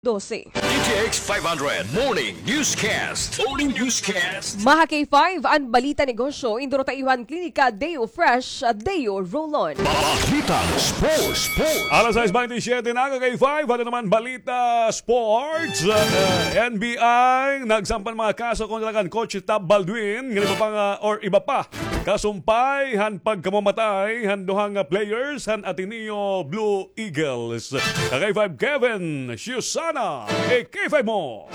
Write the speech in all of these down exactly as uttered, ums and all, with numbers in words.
dose. D T X five hundred Morning Newscast. Morning Newscast. Maha K five, an balita negosyo, induro ta iyo han Klinika Deo Fresh, Deo Roll-On. Balitang Sports. Sports. Alas sais baynte siyete na, K five, ato naman balita sports. Uh, N B I, nagsampa an mga kaso kontra kan Coach Tab Baldwin, ngan iba pa nga, or iba pa, kasumpay han pagkamamatay han duha nga players han Ateneo Blue Eagles. Ka K five Kevin Siusana, i-K five mo.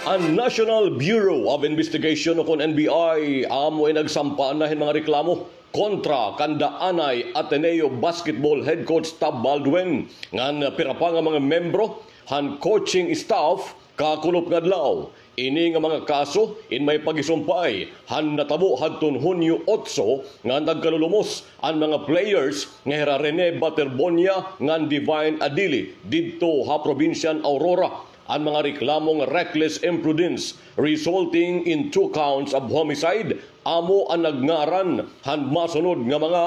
An National Bureau of Investigation o kon N B I amo in nagsampa na hin mga reklamo kontra kan Anay Ateneo basketball head coach Tab Baldwin ngan pira pa nga mga membro han coaching staff kakulop nga adlaw. Ini nga mga kaso in may pagisumpay han natabo hadton Hunyo otso nga nagkalulumos an mga players nga hira Rene Baterbonia ngan Divine Adili didto ha probinsya han Aurora. An mga reklamo nga reckless imprudence resulting in two counts of homicide amo an nagngaran han masunod nga mga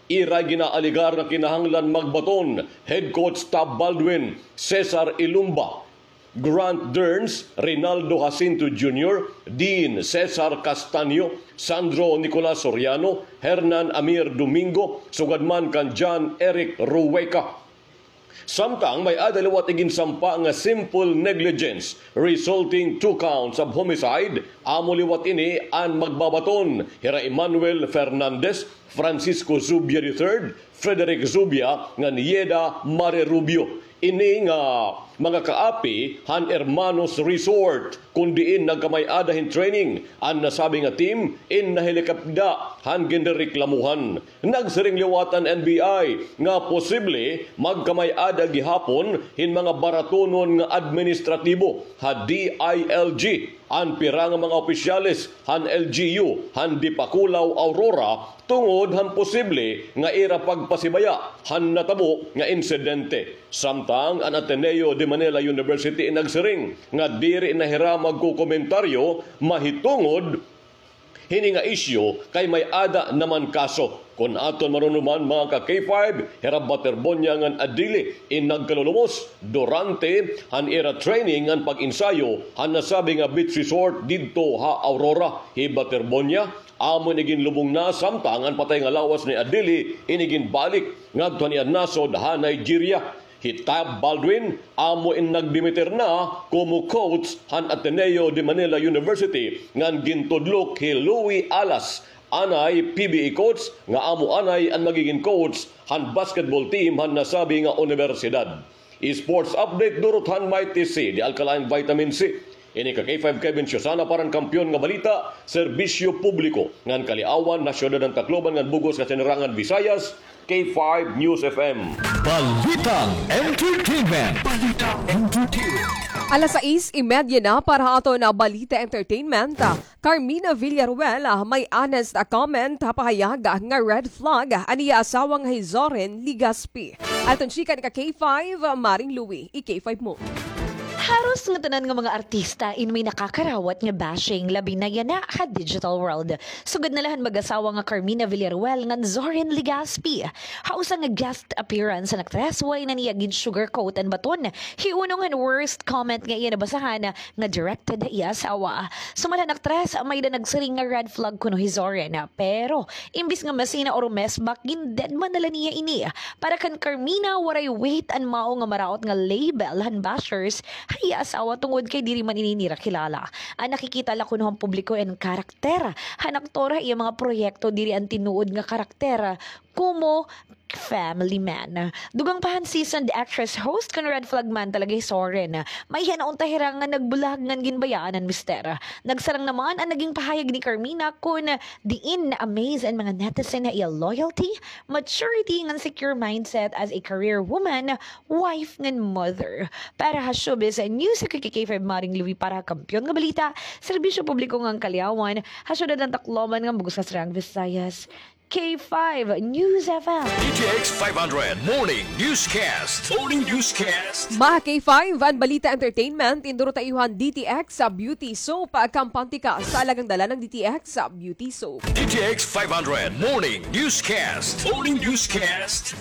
ira ginaalegar nga kinahanglan magbaton: head coach Tab Baldwin, Cesar Ilumba, Grant Derns, Rinaldo Jacinto Junior, Dean Cesar Castaño, Sandro Nicolas Soriano, Hernan Amir Domingo, sugad man kan John Eric Rueca. Samtang may-ada liwat iginsampa nga simple negligence resulting two counts of homicide, amo liwat ini an magbabaton hira Emmanuel Fernandez, Francisco Zubia the third, Frederick Zubia, ngan Yeda Mare Rubio. Ini nga mga kaapi han Hermanos Resort, kon diin nagkamay-ada hin training an nasabi nga team, in nahilikapda han ginrereklamohan. Nagsiring liwat an N B I nga posible magkamay-ada gihapon hin mga baratonon nga administratibo ha D I L G an pira nga mga opisyales han L G U han Dipakulaw, Aurora, tungod han posible nga ira pagpasibaya han natabo nga insidente. Samtang an Ateneo de Manila University in nagsiring nga diri na hira magkokomentaryo mahitungod hini nga isyu kay may-ada naman kaso. Kon aton marumduman, mga ka-K five, hira Baterbonia ngan Adili in nagkalulumos durante han ira training ngan pag-ensayo han nasabi nga beach resort didto ha Aurora. Hi Baterbonia amo in iginlubong na, samtang an patay nga lawas ni Adili in iginbalik ngadto han iya nasod ha Nigeria. Hi Tab Baldwin amo in nagdimitir na komo coach han Ateneo de Manila University ngan gintudlok hi Louie Alas, anay P B A coach, nga amo anay an magigin coach han basketball team han nasabi nga unibersidad. Sports update durot han Mighty C, the alkaline vitamin C. Ini ka K five Kevin Siusana para han Kampiyon nga Balita, Serbisyo Publiko, ngan Kaliawan, ha Syudad han Tacloban ngan bug-os nga Sinirangan Visayas, K five News F M. Balitang Entertainment. Balitang Entertainment. Alas sais y media na para ha aton nga Balita Entertainment. Carmina Villaruel, ah, may honest, ah, comment ha pahayag, ah, nga red flag, ah, an iya asawa nga hi Zoren Legaspi. Aton chika ni ka K five, ah, Maring Louie, i-K five mo. Haros ngatanan nga mga artista in may nakakarawat nga bashing, labi na yana ha digital world. Sugad na la han mag-asawa nga Carmina Villaruel ngan Zoren Legaspi. Ha usa nga guest appearance han aktres, waray na niya gin-sugarcoat an baton. Hiunong han worst comment nga iya nabasahan nga directed ha iya asawa. Sumala han aktres, may-ada nagsiring nga red flag kuno hi Zoren. Pero imbis nga masina o rumesbak, gin-deadman na la niya ini. Para kan Carmina, waray weight an mao nga maraot nga label han bashers ha iya asawa tungod kay diri man ini nira kilala. An nakikita la kuno han publiko in karakter han aktor ha iya mga proyekto, diri an tinuod nga karakter komo family man. Dugang pa han seasoned actress host, kon red flag man talaga hi Zoren, may-ada unta hira nga nagbulag ngan ginbayaan an mister. Nagsarang naman an naging pahayag ni Carmina kon diin na-amaze an mga netizen ha iya loyalty, maturity, ngan secure mindset as a career woman, wife, ngan mother. Para ha showbiz news, ako hi K five Maring Louie para ha Kampiyon nga Balita, Serbisyo Publiko ngan Kaliawan, ha Syudad han Tacloban ngan bug-os nga Sinirangan Visayas, K five News F M. D T X five hundred Morning Newscast. Morning Newscast. Mga K five, an Balita Entertainment, induro ta iyo han D T X Beauty Soap, ah, kampante ka sa alagang dala ng D T X Beauty Soap. D T X five hundred Morning Newscast. Morning Newscast.